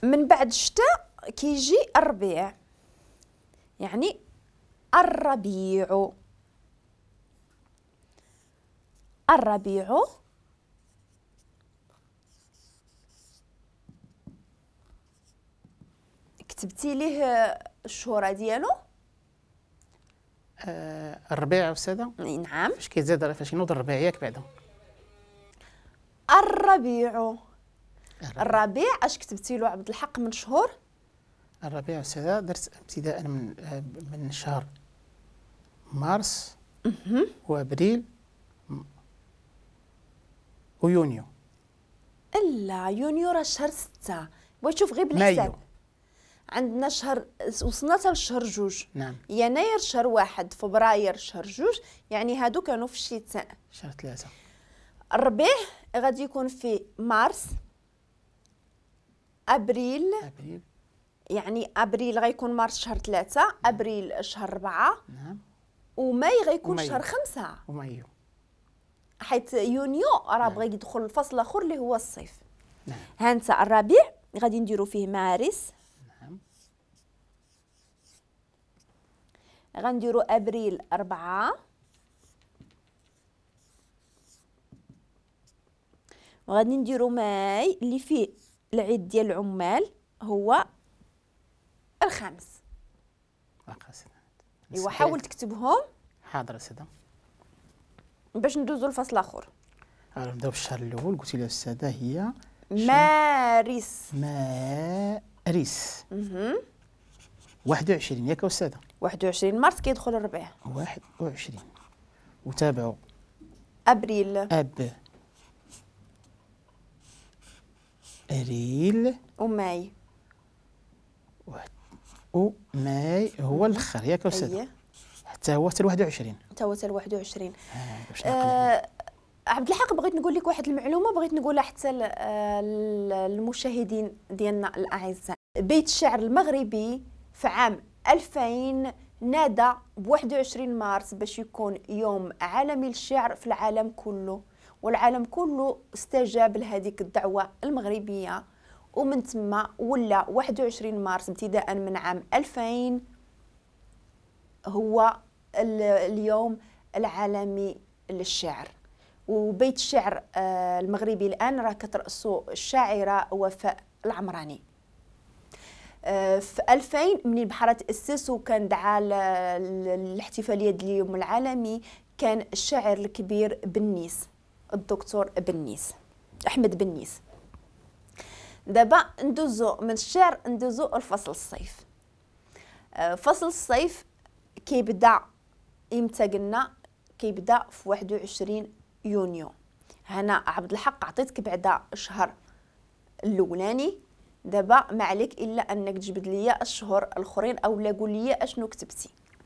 من بعد الشتاء كيجي الربيع، يعني الربيع. الربيع كتبتي ليه الشهورة ديالو؟ الربيع أستاذة؟ نعم. فاش كيتزاد، فاش ينوض الربيع ياك بعدا؟ الربيع. الربيع اش كتبتي له عبد الحق من شهور؟ الربيع أستاذة درت ابتداء من شهر مارس وابريل ويونيو. لا يونيو راه شهر 6. بغيت تشوف غير بالحساب. عندنا شهر وصلنا حتى لشهر 2. نعم. يناير شهر 1، فبراير شهر 2، يعني هادو كانوا في الشتاء. شهر 3. الربيع غادي يكون في مارس، ابريل. ابريل يعني ابريل غيكون مارس شهر 3، ابريل شهر 4. نعم. وماي غيكون شهر 5. ومايو، حيت يونيو راه بغى يدخل الفصل الاخر اللي هو الصيف. نعم. ها انت الربيع غادي نديرو فيه مارس. نعم. غنديرو ابريل 4، وغادي نديرو ماي اللي فيه العيد ديال العمال هو الخامس. ايوا حاول تكتبهم. حاضر أستاذة. باش ندوزو للفصل الاخر. نبداو بالشهر الاول. قلتي لي أستاذة هي مارس. مارس 21 ياك أستاذة؟ 21 مارس كيدخل الربيع. 21 وتابعوا ابريل. ابريل وماي. وماي هو الاخر ياك أستاذة؟ حتى هو حتى 21. حتى هو حتى 21. عبد الحق بغيت نقول لك واحد المعلومة بغيت نقولها حتى للمشاهدين ديالنا الاعزاء. بيت الشعر المغربي في عام 2000 نادى ب 21 مارس باش يكون يوم عالمي للشعر في العالم كله، والعالم كله استجاب لهذيك الدعوة المغربية، ومن ثم ولا 21 مارس ابتداء من عام 2000 هو اليوم العالمي للشعر. وبيت الشعر المغربي الآن راه كترأسو الشاعرة وفاء العمراني. في 2000 من البحر تأسس وكان دعا الاحتفالية ديال اليوم العالمي، كان الشاعر الكبير بنيس، الدكتور بنيس، أحمد بنيس. دابا ندوزو من الشعر ندوزو لفصل الصيف. فصل الصيف كيبدا امتى؟ قلنا كيبدا في 21 يونيو. هنا عبد الحق عطيتك بعدا الشهر الاولاني، دابا ما عليك الا انك تجبد ليا الشهور الاخرين او لا قول لي اشنو كتبتي.